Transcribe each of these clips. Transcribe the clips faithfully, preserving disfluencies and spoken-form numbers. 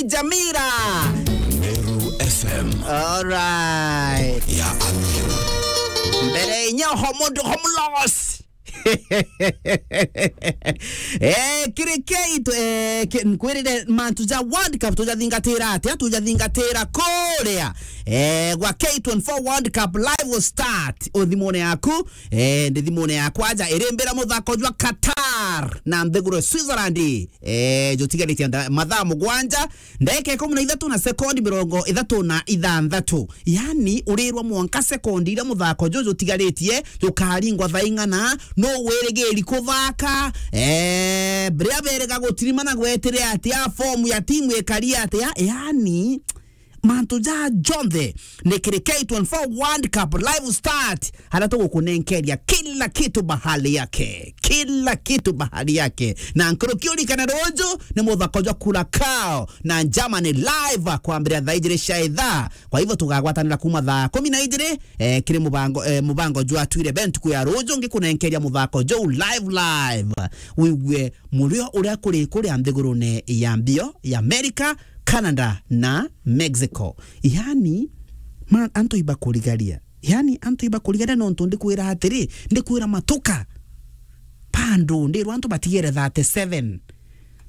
Jamira. Meru F M. Alright. Ya Amiru. Mbere inya homo ndo homo loss. Eh, kiri K tw-, eh, ki-, nkwirire mantu ja World Cup tujathingatira atia? Tujathingatira kuria, eh, gwa K twenty-four World Cup live start o thimune yaku. Eh, ndi thimune yakwa ja irimbira muthako jwa Qatar na nthiguru Switzerland. Eh, jutigaritie nda-, mathaa mugwanja, ndagika ikumi na ithatu na sekondi mirongo ithatu na ithanthatu. Yani, urirwa mwanka sekondi iria muthako juju jutigaritie jukaringwa thaa ing'ana, nu wirigiri kuthaka, eh, riria beriga gutirimana gwetire atia, fomu ya timu ikari atia, yani, mantu ja jonthe ni kiri K twenty-four World Cup live start, haria tugukunenkeria kila kitu bahali yake, kila kitu bahali yake. Na nkuruki urikane ruju ni muthako jwa Curacao na Germany live kwambiria thaa ijiri cia ithaa. Kwa hivyo tugagwatanira kuma thaa kumi na ijiri, eh, kiri mubango, eh, mubango jwa Twire Bent kuya ruju ngikunenkeria muthako juu live live. Wigue murio uria kuri kuria nthigurune ya mbio ya America, Canada na Mexico. Yani, ma-, antu ibakurigaria. Yani, antu ibakurigaria nontu ndikwira atiri, ndikwira matuka. Bado, ndirwa antu batigere thirty-seven.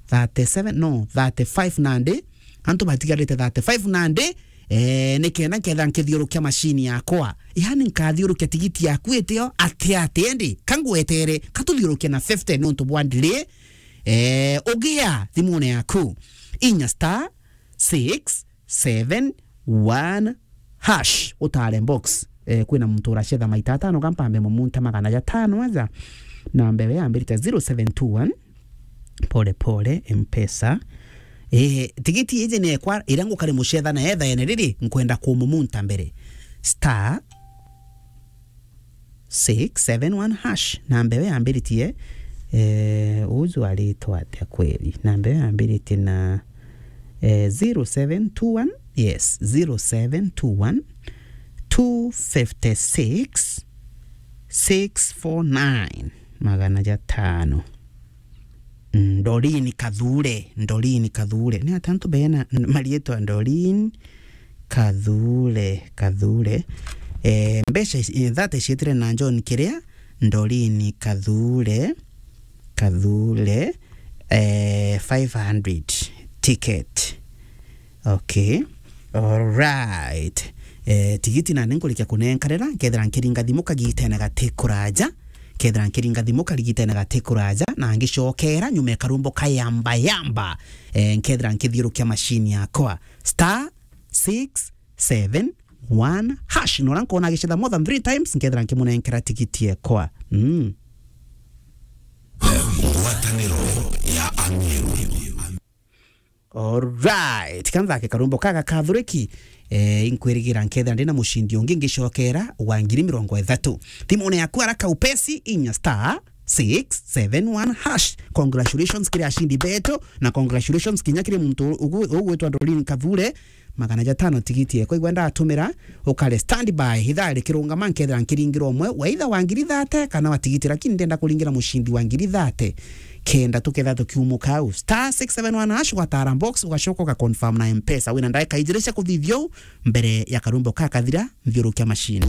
Thirty-seven, no, thirty-five nandi. Antu batigarite thirty-five nandi. Eh, ni kenda nketha nkithiurukia machine yakwa. Yani, nkathiurukia tigiti yaku itio, ati, ati, endi, kangwetere, katuthiurukia na fifty nontu bwa delay. Eh, ugia thimune yaku. Inya star six seven one hash, utare box. Eh, kwina muntu uracetha maita atano, kampambe mumunta magana jatano aja. Na mbere yambirite zero seven two one. Pole pole, Mpesa. Eh, tigiti iji ni ekwa, iria ngukari mucetha na etha ene riri, nkwenda kumumunta mbere. Star six seven one hash. Namba iyo yambiritie, eh, uju aritwa atia kweri? Namba iyo yambiritie na, eh, zero seven two one. Yes, zero seven two one, two fifty six, six four nine, magana jatano. Ndolin Kathure, Ndolin Kathure. Ni atia antu bena n-, marietwa Ndolin Kathure, Kathure. Eh, mbeca ici, eh, thirty cietire na John Kiria, Ndolin Kathure, Kathure, eh, five hundred ticket. Okay. Alright. Eh, tigiti nandi nkurikia kunenkanira, nkethira nkiringa thimu kagitene gati kuraja, nkethira nkiringa thimu kagitene gati kuraja, na ngicokera nyuma ya karumbo kayamba yamba, eh, nkethira nkithiurukia machine yakwa. Star six seven one hash. Nora nkona agicetha more than three times, nkethira nkimunenkera tigiti ekwa. Mm. Ngwataniro ya Amiru. Alright. Kanthake karumbo kaga kathuriki, eh, inkwirigira nkethira ndina mucindi ungi ngicokera wa ngiri mirongo ithatu. Thimune yaku haraka upesi, inya star six seven one hash. Congratulations kiri ashindi betu, na congratulations kinya kiri muntu ugu-, ugwitwa Doreen Kathure, magana jatano tigiti ekwa igwe ndatumira, ukare standby, ithaa rikirungama nkethira nkiringira umwe, wa itha wa ngiri thate kana wa tigiti, lakini ndenda kuringira mucindi wa ngiri thate. Kenda tuketha tukiumuka au. Star six seven one hash, ugatara box, ugacoka ugaconfirm na Mpesa. Wina ndagika ijiri cia kuthithia uu mbere ya karumbo kakathira, nthiurukia machine.